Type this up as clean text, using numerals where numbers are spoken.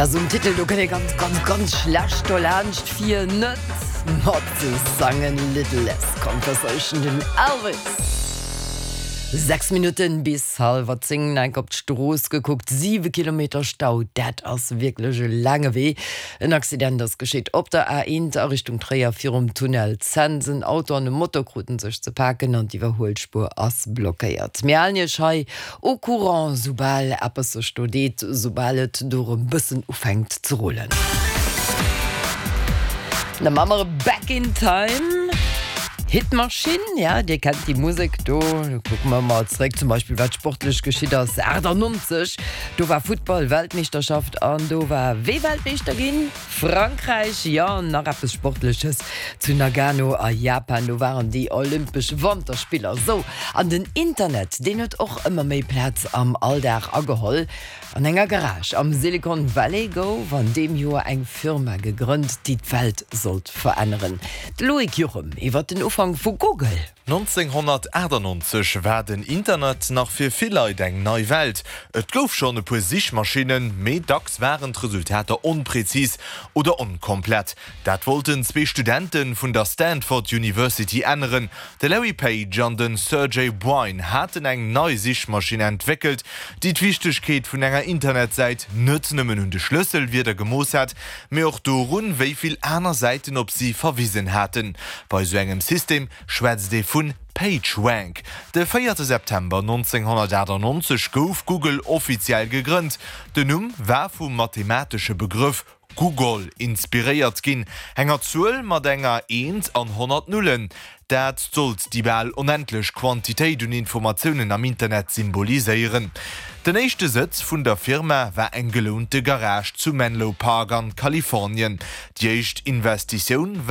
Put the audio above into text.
Dat ass um Titel, do kënnt ee ganz, ganz, ganz schlecht dolaanscht fir net mat ze sangen. Little Less Conversation, den Elvis. 6 Minutten bis hallwer 10, enk op d'Strooss gekuckt, 7 Kilometer Stau, dat ass wierklech e laange Wee. En Accident ass geschitt op der A1 a Richtung Tréier virum Tunnel Cents. En Auto an e Moto kruten sech ze paken an d'Iwwerhuelspuer ass blockéiert. Mir halen Iech hei au courant, soubal eppes sech do deet, soubal et do erëm bëssen ufänkt ze rullen. Da maache mer e Back in Time. Hitmaschinn, ja, Dir kennt déi Musek do. Kucke mer mol zeréck, zum Beispill wat sportlech geschitt ass 98. Do war Futtball-Weltmeeschterschaft an do war wee Weltmeeschter ginn? Frankräich, jo. An nach eppes Sportleches zu Nagano a Japan, do waren déi Olympesch Wanterspiller. Sou, an den Internet, deen huet och ëmmer méi Plaz am Alldag ageholl. An enger Garage am Silicon Valley gouf an deem Joer eng Firma gegrënnt, déi d'Welt sollt veränneren. De Loïc Juchem iwwer den Ufank vu Google. 1998 war den Internet nach fir vill Leit eng nei Welt. Et gouf schonn e puer Sichmaschinnen, mee dacks waren d'Resultater onprezis oder onkomplett. Dat wollten zwee Studente vun der Stanford University änneren. De Larry Page an de Sergey Brin haten eng nei Sichmaschinn entwéckelt, déi d'Wichtegkeet vun enger Internetsäit net nëmmen un de Schlësselwierder gemooss hat, mee och dorun, wéi vill aner Säiten op si verwisen haten. Bei esou engem System schwätzt ee vun PageRank. De véierte September 1998 gouf Google offiziell gegrënnt. Den Numm war vum mathematesche Begrëff Googol inspiréiert ginn, enger Zuel mat enger Eent an 100 Nullen. Dat sollt déi bal onendlech Quantitéit un Informatiounen am Internet symboliséieren. Den éischte Sëtz vun der Firma war eng gelounte Garage zu Menlo Park an Kalifornien. Déi éischt Investitioun war.